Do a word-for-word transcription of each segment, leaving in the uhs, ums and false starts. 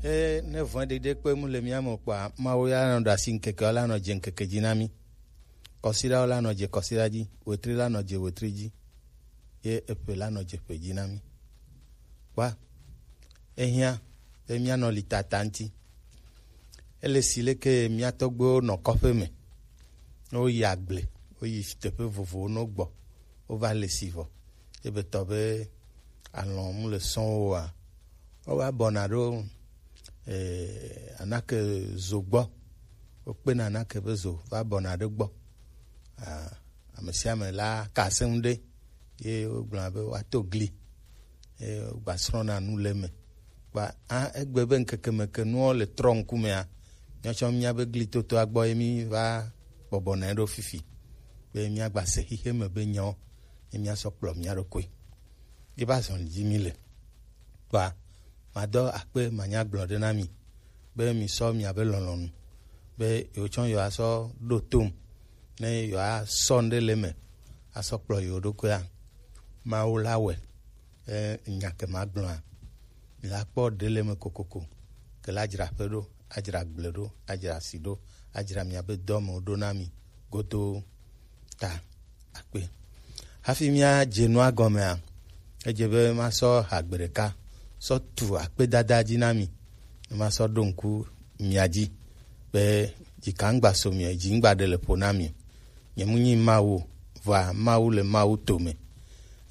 Eye ne vɔ̃ɖiɖi ɖekpe mu le mía me o kpɔa, Mawu ya nɔ ɖe asi ŋkeke, la nɔ dze ŋkeke dzi na mí. Kɔsiɖawo la nɔ dze kɔsiɖa dzi, wetri la nɔ dze wetri dzi, ye eƒe la nɔ dze ƒe dzi na mí. Kpɔa, ehiã be míanɔ li tata ŋuti. Ele si leke mía tɔgbuiwo nɔ kɔƒe me, ne woyi agble, woyi teƒe vovovowo, ne wogbɔ, wova le si vɔ. Ebe tɔ be alɔ̃ mu le sɔ̃ wo oa, wova bɔna ɖo, eh, anake zo gbɔ. Wokpena anake be zo va bɔna ɖe gbɔ. Ah, ame sia ame la ka asem ɖe, ye wogblɔna be woato gli, ye wogbasrɔ̃na nu le eme. Kpa, ah, egbe be ŋkeke me ke nuwo le trɔ ŋkumea, míawo tsã mía be glitotoa gbɔ ye míva bɔbɔna ɖo fifi, be míagba se xixe me be nyawo, ye míasɔ kplɔ mía ɖokui. Ye va zɔn dzi mí le. Kpa, madɔ akpe manya gblɔ ɖe na mi, be mi sɔ miabe lɔlɔ̃nu, be yewo tsã yewoasɔ ɖo tom, ne yewoasɔ ŋɖe le eme asɔ kplɔ yewo ɖokuia, Mawu la wɔe. E, nya ke magblɔa, mi la kpɔ ɖe le eme kokoko, ke la dzra aƒe ɖo, adzra agble ɖo, adzra asi ɖo, adzra miabe dɔmewo ɖo na mi godoo. Ta akpe. Hafi míadze nua gɔmea, edze be masɔ ha gbe ɖeka sɔ tu akpedada dzi na mi. Ne masɔ ɖo ŋku mia dzi be dzika ŋgba so mi o, dzi ŋgba ɖe le ƒo na mi o. Nye mu nyi Mawu o, vɔa Mawu le Mawu to me.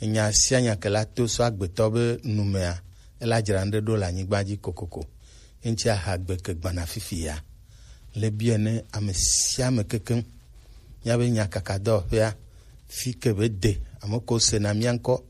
Enya sia nya ke la to sɔ agbetɔ be nu mea, ela dzra ŋɖe ɖo le anyigba dzi kokoko. Ye ŋuti aha gbe ke gbana fifi ya. Le biɛ ne ame sia ame kekeŋ. Míabe nyakakadɔwɔƒea, fi ke be de, ame ko sena mía ŋkɔ,